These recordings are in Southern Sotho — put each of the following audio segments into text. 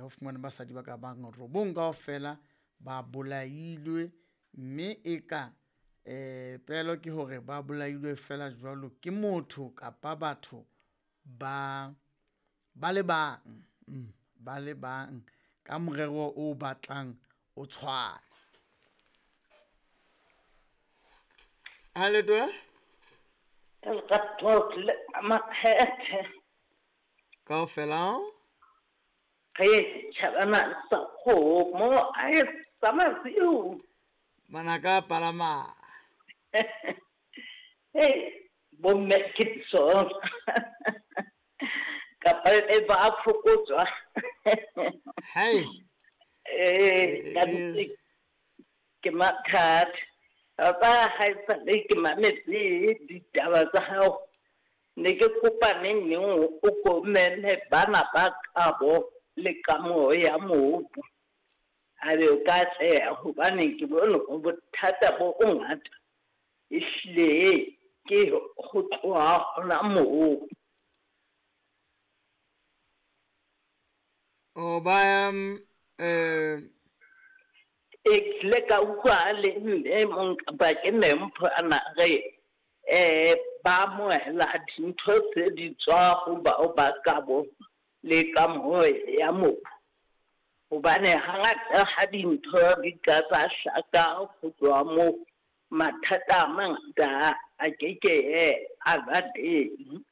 Ho fumanwe basadi ba ka bang robong kaofela ba bolailwe, mme eka pelo ke hore ba bolailwe fela jwalo ke motho kapa batho ba ba le bang, ba le bang ka morero o batlang o tshwana. Ha letona? Kaofela? Re tjhabana sa kgomo a e sa masiu. Manaka a palama. Hey, bomme ke sona. Kapa e ba fokotswa. Hey. Ka nnete ke mathata. Ba ha e sale ke mametse ditaba tsa hao. Ne ke kopa neng neng o ko meme bana ba kabo le kamoho ya mobu. A be o ka atleha hobane ke bone hore bothata bo bongata ehlile ke ho tloha hona moo. O ba E kile ka utlwa le mme mong kapa ke mme Mpho a na re ba amohela dintho tse di tswa ho bao ba kabo le kamoho ya mobu. Hobane hangata ha dintho di ka tsa hlaka ho tloha moo, mathata a mangata a keke a ba teng.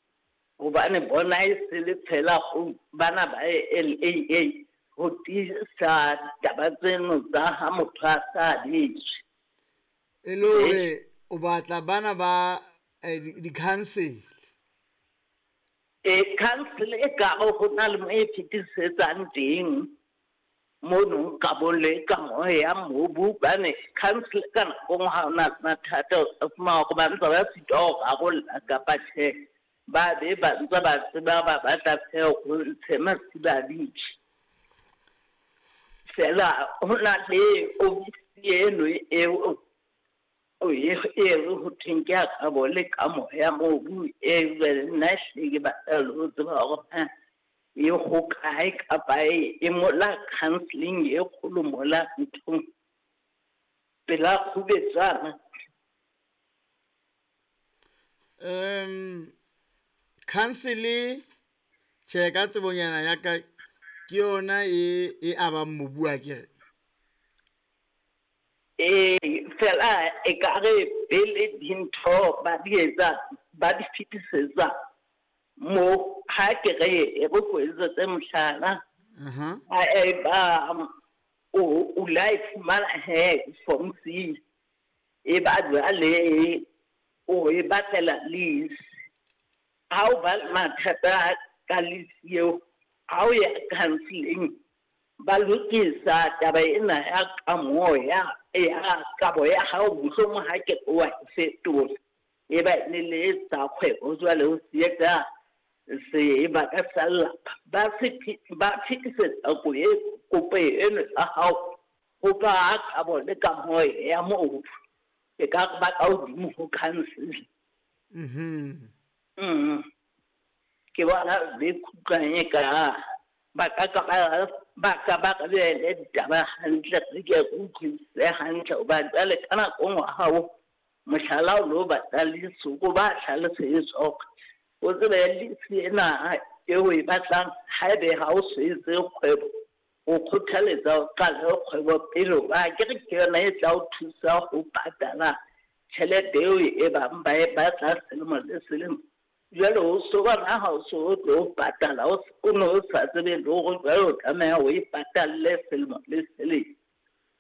Hobane bona e se le fela ho bana ba LAA ho tiisa taba tseno tsa ha motho a sa abetswe. E le hore o batla bana ba di-council. Council e ka ho na le mo e fetisetsang teng mono kabong le kamoho ya mobu, hobane council ka nako nngwe ha ona le mathata o fumana hore ba ntse ba sitwa ho rarolla kapa tjhe, ba be ba ntse ba tseba ba batla feela ho ntshe masiba a ditjhe. Fela ho na le ofisi eno eo e re ho thweng ke ya kabo le kamoho ya mobu, e jwale nna ehlile ke batla le ho tseba hore na e hokae kapa e mola counselling e kgolo mola nthong pela Kgubetswana. Council tjhe ka tsebonyana ya ka ke yona e abang mobu a kere. Fela e ka re pele dintho ba di etsa ba di fetisetsa mo ha ke re e re ko etsetse mohlala. Ha e ba o la e fumana he form C, e ba jwale o e batlela lease. Ha o ba le mathata ka lease eo, ha o ya counselling ba lokisa taba ena ya kamoho ya kabo ya hao, mohlomong ha ke wa e fetola e ba ne le tsa kgwebo jwale o se etsa se ba ka sa lelapa. Ba fetisetsa kopo eno ya hao ho ba kabo le kamoho ya mobu, e ka ba ka hodimo ho council. Ke bona be khutlwang e ka ba ka ba ka beele ditaba hantle, re ke re utlwisise hantle hobane jwale ka nako nngwe hao mohlala o lo batla lease, ko ba hlalosetswa hore o tsebe lease ena eo e batlang haebe ha o so etse kgwebo, o kgothaletsa o qale kgwebo pele, hoba akere ke yona e tla o thusa ho patala tjhelete eo e bang ba e batla selemo le selemo. Jwale o so bona ha o so o tlo patala, o ne o sa tsebe le hore jwale o tlameha o e patalle selemo le selemo.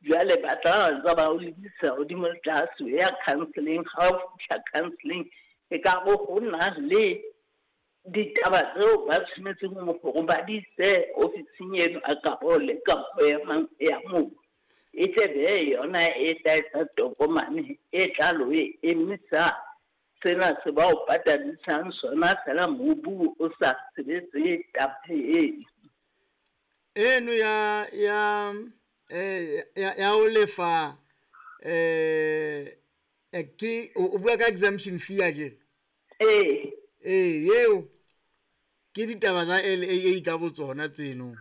Jwale ba tla ntse ba o lebisa hodimo le tlase o ya counselling. Ha o fihla counselling e ka re ho na le ditaba tseo ba tshwanetseng hore ba di ise ofising eno a kabo le kapo ya mobu. E tle be yona e tla etsa tokomane e tla lo e emisa sena se ba o patadisang sona fela mobu o sa sebetse taba eno. Eno ya o lefa ke o bua ka exemption fee akere? Eo ke ditaba tsa LAA ka botsona tseno.